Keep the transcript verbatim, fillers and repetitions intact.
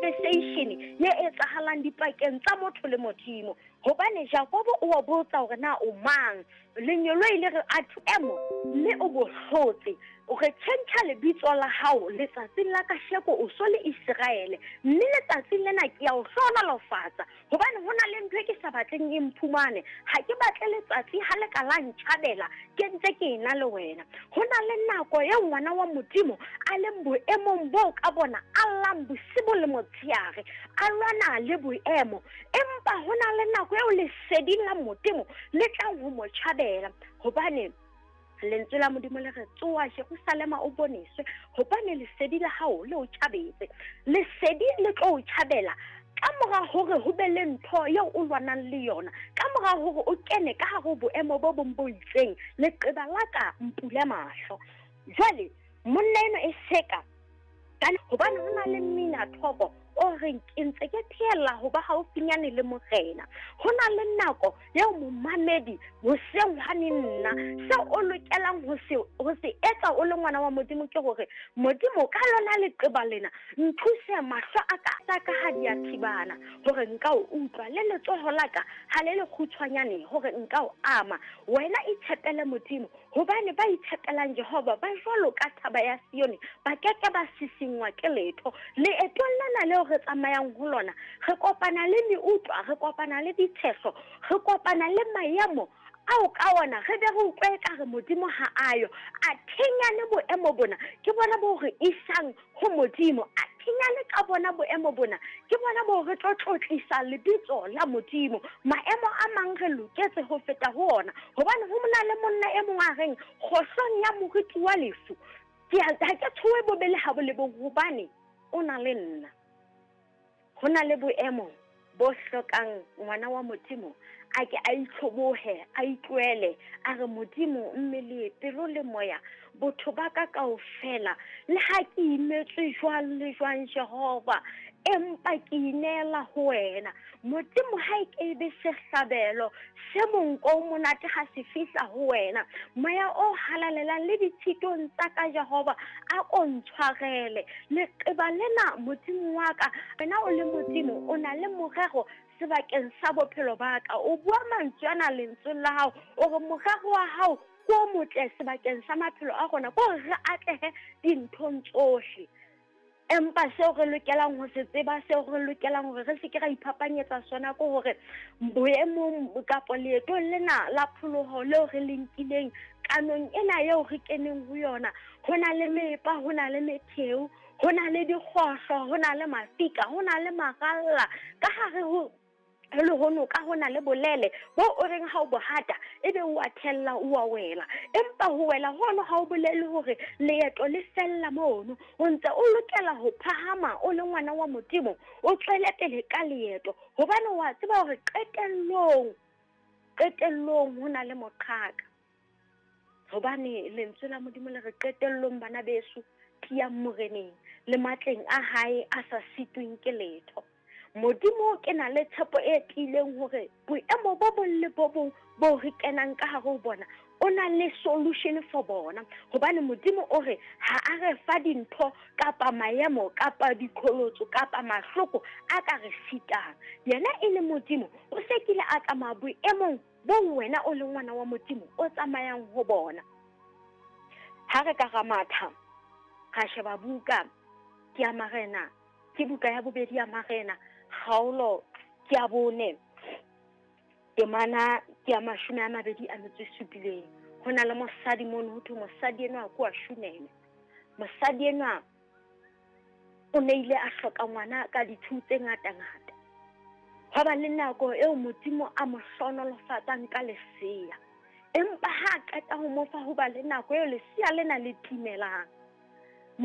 conversation ye etsahalang dipakeng tsa motho le Modimo. Hobane Jakobo o wa botsa hore na o mang, lengeloi le re a emo mme o bo hlotse, o re tjhentjha lebitso la hao letsatsing la kasheko o so le Iseraele, mme letsatsing lena ke ya o hlohonolofatsa. Hobane ho na le ntho e ke sa batleng e mphumane, ha ke batle letsatsi ha le ka la ntjhabela ke ntse ke ena le wena. Ho na le nako eo ngwana wa Modimo a leng boemong boo ka bona a llang bosibu le motshehare, a lwana le boemo, empa ho na le nako eo lesedi la Modimo le tlang ho mo tjhabela. Hobane lentswe la Modimo le re tsoha Jerusalema o boneswe, hobane lesedi la hao le o tjhabetse. Lesedi le tlo o tjhabela ka mora hore ho be le ntho eo o lwanang le yona, ka mora hore o kene ka hare ho boemo bo bong bo itseng. Leqeba la ka mpule mahlo. Jwale monna eno e seka hobane ho na le mmina thoko o reng ke ntse ke phehella ho ba haufinyane le Morena. Ho na le nako eo momamedi hoseng hwane nna seo o lokelang ho se ho se etsa o le ngwana wa Modimo ke hore Modimo ka lona leqeba lena nthuse mahlo a ka tsa ka ha di a thibana hore nka o utlwa, le letsoho la ka ha le le kgutshwanyane hore nka o ama. Wena itshepele Modimo, hobane ba itshepelang Jehova ba jwalo ka thaba ya Sione, ba keke ba sisingwa ke letho. Leetong lena leo re tsamayang ho lona, re kopana le meutlwa, re kopana le ditshehlo, re kopana le maemo ao ka ona re be re utlwe ekare Modimo ha ayo. A thenyane boemo bona ke bona bo re isang ho Modimo, a thenyane ka bona boemo bona ke bona bo re tlo tlotlisa lebitso la Modimo. Maemo a mang re loketse ho feta ho ona, hobane ho mona le monna e mong a reng kgohlong ya moriti wa lefu ke ha ke tshohe bobe le ha bo le bong, hobane o na le nna. Ho na le boemo bo hlokang ngwana wa Modimo a ke a itlhobohe, a itlohele, a re Modimo mmele, pelo le moya, botho ba ka kaofela, le ha ke imetswe jwang le jwang Jehova, empa ke ineela ho wena. Modimo ha e ke be sehlabelo se monko o monate ha se fihla ho wena. Moya o halalelang le ditshitong tsa ka Jehova a ko ntshwarele. Leqeba lena Modimo wa ka, wena o le Modimo o na le morero sebakeng sa bophelo ba ka. O bua mantswe ana lentsweng la hao, o re morero wa hao ke o motle sebakeng sa maphelo a rona, ke hore re atlehe dinthong tsohle. Empa seo re lokelang ho se tseba, seo re lokelang hore re se ke ra iphapanyetsa sona, ke hore boemong kapa leetong lena la pholoho leo re le nkileng, kanong ena eo re keneng ho yona, ho na le mepa, ho na le metheo, ho na le dikgohlo, ho na le mafika, ho na le maralla ka hare ho le ho noka, ho na le bolele bo o reng ha o bohata ebe o a thella, o a wela. Empa ho wela hono ha o bolele hore leeto le fella mono. O ntse o lokela ho phahama o le ngwana wa Modimo, o tswele pele ka leeto, hobane wa tseba hore qetellong, qetellong ho na le moqhaka. Hobane lentswe la Modimo le re qetellong bana beso, tiyang Moreneng le matleng a hae a sa sitweng ke letho. Modimo ke na le tshepo e tiileng hore boemo bo bong le bo bong bo re kenang ka hare ho bona, o na le solution for bona. Hobane Modimo o re ha a re fa dintho kapa maemo kapa diqholotso kapa mahloko a ka re sitang. Yena e le Modimo o se kile a tsamaya boemong bo wena o le ngwana wa Modimo o tsamayang ho bona. Ha re ka ra matha ra sheba buka ke ya Marena, ke buka ya bobedi ya Marena, kgaolo ke ya bone, temana ke ya mashome a mabedi a metso e supileng. Ho na le mosadi mono, ho thwe mosadi enwa ke wa Shuneme. Mosadi enwa o ne ile a hloka ngwana ka dithuo tse ngata-ngata. Hwa ba le nako eo Modimo a mo hlohonolofatsang ka lesea, empa ha a qeta ho mo fa, ho ba le nako eo lesea lena le timelang.